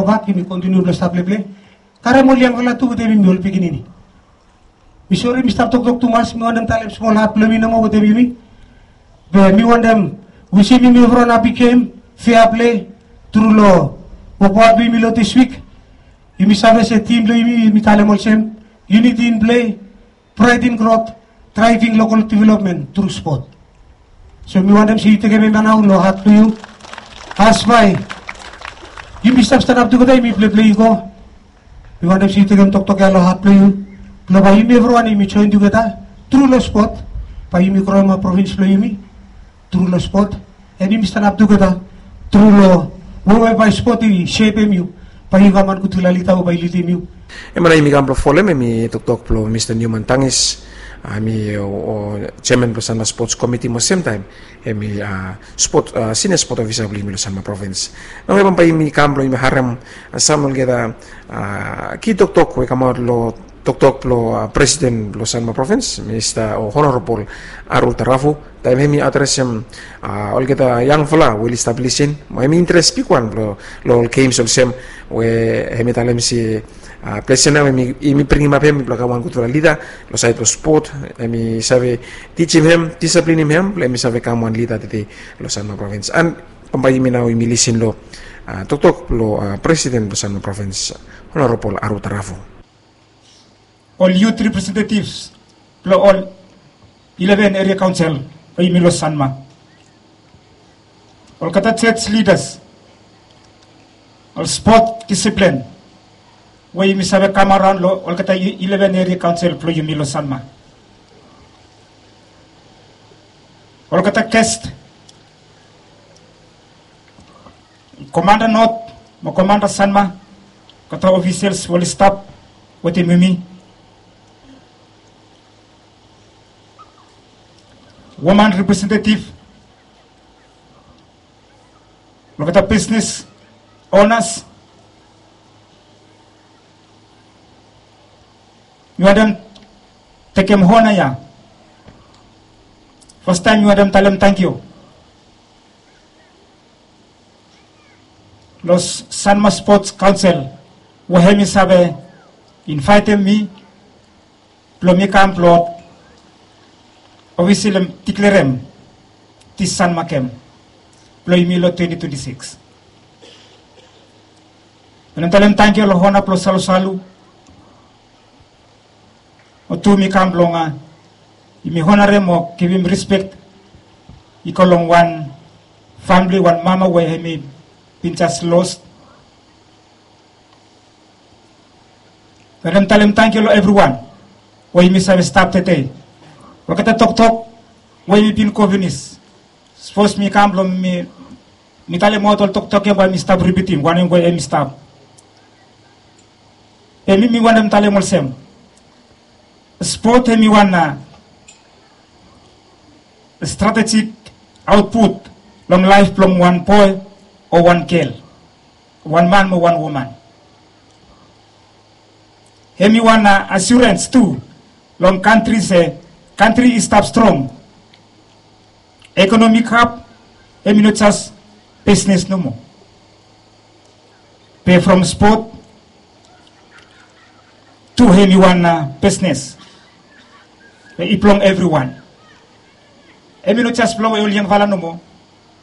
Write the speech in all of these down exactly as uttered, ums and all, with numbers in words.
Gobak yumi kontiniu blong stap pleple. Karem ol yangfala tu wetem yumi ol pikinini. Mi sori mi stap toktok tumas, mi wantem talem smol hat blong mi nomo wetem yumi. Be mi wantem wisim yumi evriwan hapi gem, fea plei tru long wokbaot blong yumi long dis wik. Yumi save se tim blong yumi, yumi talem olsem, unity in plei, praed in grot, draeving lokal developmen tru spot. So mi wantem se yu tekem em ya nao long hat blong yu. As bae yumi stap stanap tugeta, yumi pleplei i go. Mi wantem se yu tekem toktok ya long hat blong yu, blong bae yumi evriwan yumi joen tugeta tru long spot, bae yumi groem ap provins blong yumi tru long spot. An yumi stanap tugeta tru long wewe bae spot i sepem yu, bae yu kam wan gudfala lida we bae i lidim yu. Em ya nao yumi kam blong folem, em i toktok blong Mista Newman Tangis, a, em i, o, o, jeaman blong Sanma Spots Komiti mo semtaem em i, a, spot, a, sinia spot ofisa blong yumi long Sanma provins. Nao ya bambae yumi kam blong yumi harem, a, sam olgeta, a, ki toktok we i kamaot long toktok blong, a, presiden blong Sanma provins, Mista o Honorabol Aru Tarafu, taem hem i adresem, a, olgeta yangfala we oli stap lisin, mo hem i interes bigwan blong, long ol gems olsem we hem i talem se, a, ples ya nao hem i, hem i bringim ap hem blong kam wan gudfala lida long saed blong spot, hem i save tijim hem, disiplinim hem blong hem i save kam wan lida tede long Sanma provins. An bambae yumi nao yumi lisin long, a, toktok blong, a, presiden blong Sanma provins, Honorabol Aru Tarafu. Ol yut representetivs blong ol ileven eria kaonsel blong yumi long Sanma, olgeta jos lidas, ol spot disiplin we yumi save kam araon long olgeta i-, ileven eria kaonsel blong yumi long Sanma, olgeta ges, komanda Not mo komanda Sanma, olgeta ofisels we oli stap wetem yumi, woman representetiv, olgeta bisnes onas. Mi wantem tekem hona ya, fastaem mi wantem talem tangkiu long Sanma Spots Kaonsel we hem i save invaetem mi blong mi kam blong ofisiali diklerem dis Sanma gem blong yumi long twenti twenti sikis. Mi wantem talem tangkiu long hona blong Salusalu, mo tu mi kam blong, a, yumi honarem mo givim rispek i go long wan famili, wan mama we hem i bin jes los. Mi wantem talem tangkiu long evriwan we yumi save stap tede. Olgeta toktok we yumi bin go finis, sapos mi kam blong mi, mi talemaot ol toktok ya bae mi stap ripitim wanem we hem i stap. Be mi, mi wantem talem olsem, spot hem i wan, a, stratejik aotput long laef blong wan boe o wan gel, wan man mo wan woman. Hem i wan, a, asurens tu long kantri se kantri i stap strong. Ekonomi hab hem i no jes bisnes nomo. Be from spot tu hem i wan, a, bisnes we i blong evriwan. Hem i no jes blong ol yangfala nomo,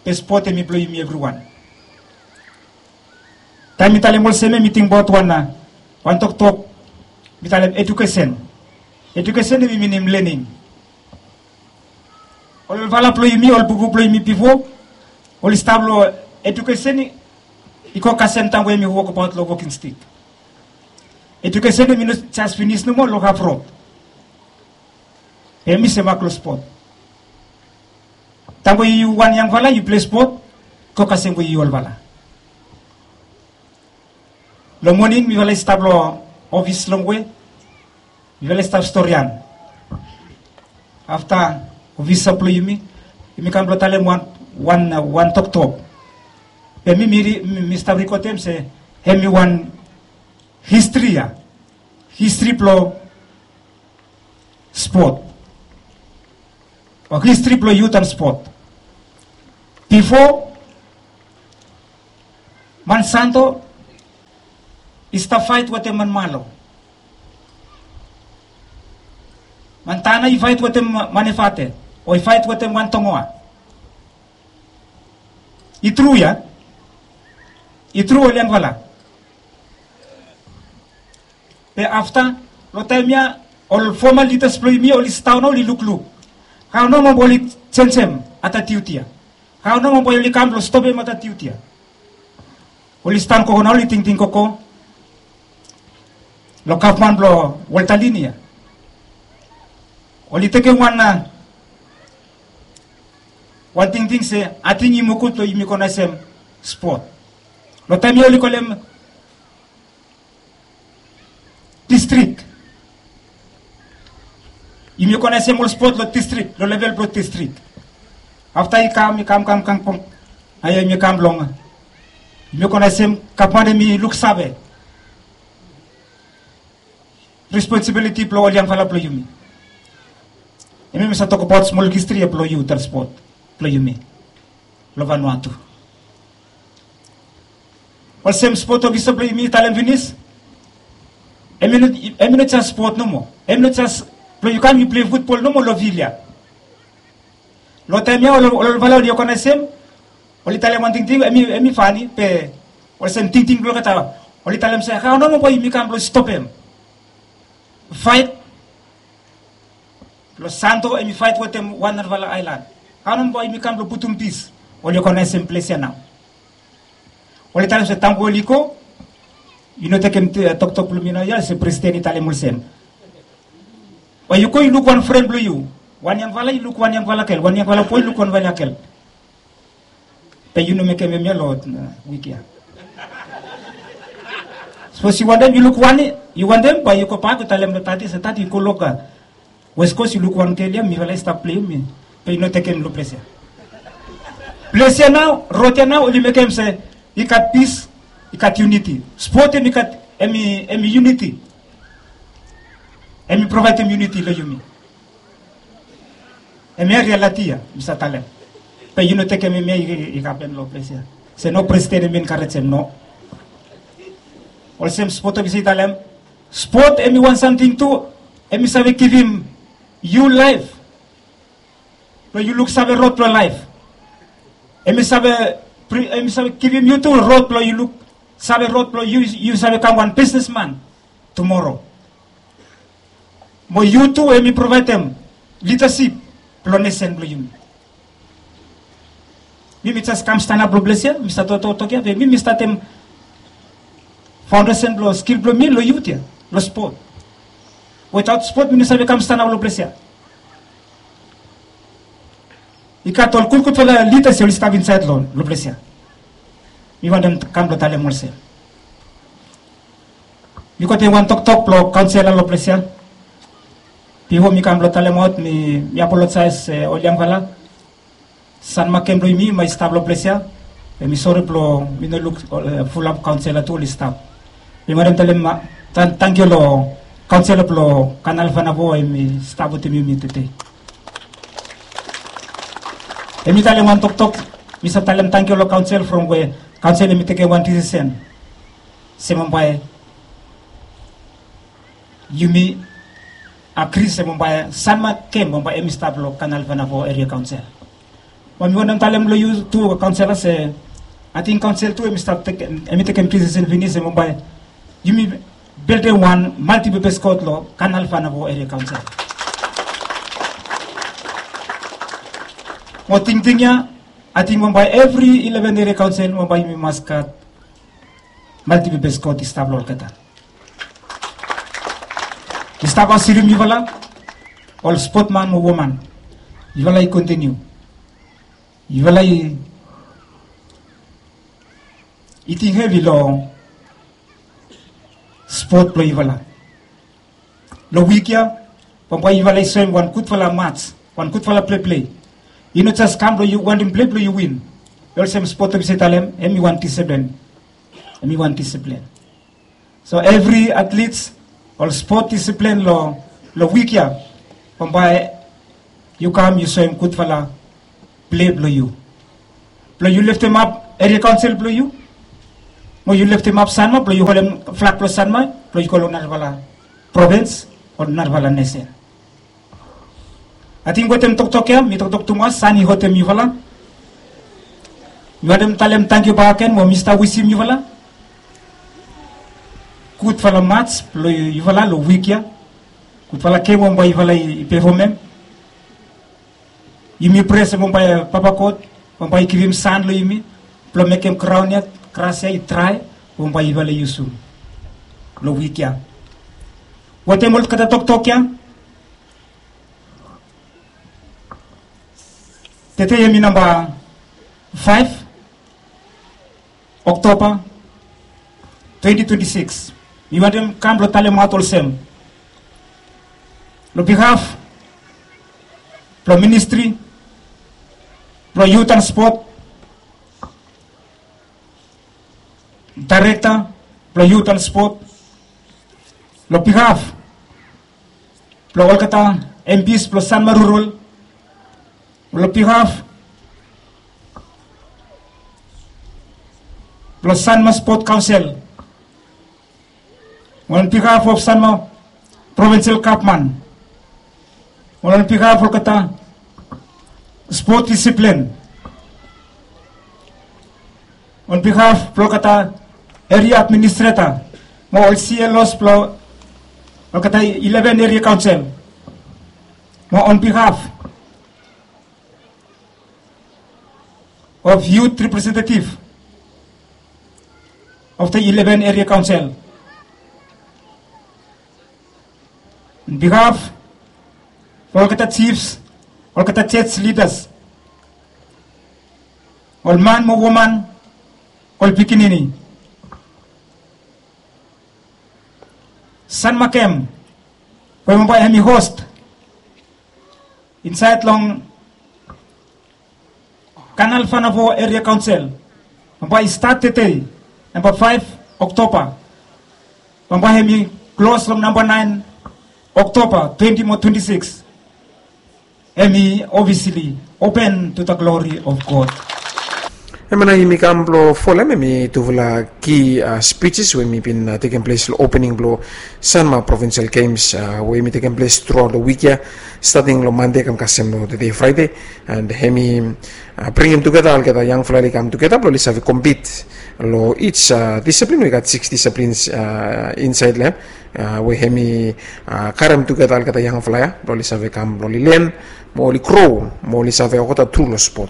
be spot hem i blong yumi evriwan. Taem mi talem olsem ya mi tingbaot wan, a, wan toktok, mi talem edukesen. Edukesen hem i minim lening. Ol olfala blong yumi, ol bubu blong yumi bifo oli stap long edukesen i go kasem taem we yumi wokbaot long woking stik. Edukesen hem i no jes finis nomo long haf rod. Be hem i semak long spot. Taem we yu wan yangfala yu pilei spot, go kasem we yu olfala. Long moning mifala i stap long ofis longwe, mifala i stap storian. Afta ofisa blong yumi, yumi kam blong talem wan, wan, wan toktok. Be mi, mi, mi stap rikodem se hem i wan histri ya. Histri blong spot o histri blong yut an spot. Bifo Monsanto I stap faet wetem man malo. Man tana i faet wetem man efate, o i faet wetem wan tongoa. I tru ya? I tru ol yangfala? Be afta, long taem ya, ol foma lidas blong yumi oli sidaon oli lukluk, hao nao mo oli jenjem atatiut ya? Hao nao mo oli kam blong stopem atatiut ya? Oli stan koko nao oli tingting koko long gavman blong waltalin ya. Oli tekem wan a wan tingting se ating i mukut long yumi konaesem spot. Long taem ya oli kolem distrik. Yumi konaesem ol spot long distrik, long level blong distrik. Afta i kam i kam kam kam kam, ae yumi kam long, yumi konaesem gavman em i luksave responsibiliti blong ol yangfala blong yumi. Em ya mi save tokbaot smol histri ya blong yu, tal spot blong yumi long Vanuatu. Olsem spot ofisa blong yumi i talem finis, em i no jes spot nomo. Em i no jes blong yu kam yu pilei futbol nomo long fil ya. Long taem ya ol olfala oli ogenaesem, oli talem wan tingting, em i fani be olsem tingting blong olgeta, oli talem se hao nao mo bae yumi kam blong stopem faet blong Santo em i faet wetem wan narafala aelan. Hao nao mo bae yumi kam blong putum pis? Oli ogenaesem ples ya nao. Oli talem se taem we oli go, yu no tekem toktok blong mi nao ya se presiden i talem olsem, bae yu go yu luk wan fren blong yu. Wan yangfala i luk wan yangfala gel, wan yangfala boe i luk wan yangfala gel. Be yu no mekem hemia long wik ya. Sapos yu wantem yu luk wan, yu wantem bae yu gobak yu talem long dadi se dadi yu go long Westkos yu luk wan gel ya, mifala i stap pleim ya. Be yu no tekem long ples ya. Ples ya nao, rod ya nao oli mekem se i gat pis, i gat yuniti. Spot em i gat, em i yuniti. Em i provaedem yuniti long yumi. Hemia rialiti ya mi save talem. Be yu no tekem hemia i hapen long ples ya. Se no, presiden em i enkarejem, no. Olsem spot ofisa i talem, spot em i wan samting tu em i save givim yu laef blong yu luksave rod blong laef. Em i save, em i save givim yu tu rod blong yu luksave rod blong yu save kam wan bisnesman tumoro. Mo yu tu em i provaedem lidasip blong nesen blong yumi. Mi mi jes kam stanap long ples ya, mi save toktok ya be mi mi statem faondesen blong skil blong mi long yut ya, long spot. Wetaot spot mi no save kam stanap long ples ya. I gat ol gudgudfala lidas ya oli stap insaed long ples ya. Mi wantem kam blong talem olsem, mi gotem wan toktok blong kaonsela long ples ya. Bifo mi kam blong talemaot, mi apolojaes ol yangfala. Sanmakem blong yumi bae i stap long ples ya. Be mi sore blong mi no luk fulap kaonsela tu oli stap. Mi wantem talem tangkiu long kaonsela blong Kanal Vanavo em i stap wetem yumi tede. Em i talem wan toktok, mi save talem tangkiu long kaonsel from we kaonsel em i tekem wan disisen se bambae yumi agri se bambae Sanmakem bambae em i stap long Kanal Vanavo Eria Kaonsel. Be mi wantem talem long yu tu kaonsela se ating kaonsel tu em i stap tekem, em i tekem disisen finis se bambae yumi bildim wan maltipepes kot long Kanal Vanavo Eria Kaonsel. Mo tingting ya, ating bambae evri ileven eria kaonsel bambae yumi mas gat maltipepes kot i stap long olgeta. I stap asirim yufala ol spotman mo woman, yufala i kontiniu, yufala i ting hevi long spot blong yufala. Long wik ya bambae yufala i soem wan gudfala mats, wan gudfala pleplei. I no jes kam blong yu wantem plei blong yu win. Olsem spot ofisa i talem, em i wan disiplen. Em i wan disiplen. So evri atlits, ol spot disiplen long wik ya bambae yu kam yu soem gudfala plei blong yu, blong yu leftemap eria kaonsel blong yu. Mo yu leftemap Sanma blong yu holem flag blong Sanma blong yu go long narafala provins o narafala nesen. Ating wetem toktok ya mi toktok tumas, San i hotem yufala. Mi wantem talem tangkiu bakegen mo mi stap wisim yufala gudfala mats blong yufala long wik ya. Gudfala gem we bae yufala i pefomem. Yumi prea se bambae Papa God bambae i givim san long yumi blong mekem graon ya, gras ya i drae, bambae yufala i yusum long wik ya. Wetem olgeta toktok ya, tede hemi namba faef Oktoba twenti twenti sikis. Mi wantem kam blong talemaot olsem, long bihaf blong ministri blong yut an spot, daerekta blong yut an spot, long bihaf blong olgeta empis blong Sanma Rural, long bihaf blong Sanma Spot Kaonsel, on bihaf of Sanma Provinsel Gavman, on bihaf olgeta spot disiplin, on bihaf blong olgeta eria administreta mo ol C L Os blong olgeta ileven eria kaonsel, mo on bihaf of yut representativ of the ileven eria kaonsel, on bihaf blong olgeta jifs, olgeta jos lidas, ol man mo woman, ol pikinini. Sanma gem we bambae hemi host insaed long Kanal Vanavo Eria Kaonsel, bambae i stat tede namba faef Oktoba, bambae hemi klos long namba naen Oktoba twenti mo twenti sikis. Hemi obvisli open to the glori of God. Hemia nao yumi kam blong folem hemi tufala ki spijis we hemi bin tekem ples long opening blong Sanma Provinsel Gems we hemi tekem ples truaot long wik ya, stating long Mande kam kasem long tede Fraede. And hemi bringim tugeta olgeta yangfala oli kam tugeta blong oli save kompit long ij disiplin. We i gat sikis disiplins insaed long hem we hemi karem tugeta olgeta yangfala ya blong oli save kam blong oli len mo oli gro mo oli save olgeta tru long spot.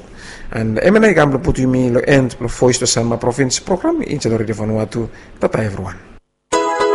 And hemia nao i kam blong putum yumi long en blong Voes blong Sanma Provins program insaed long Redio Vanuatu. Tata evriwan.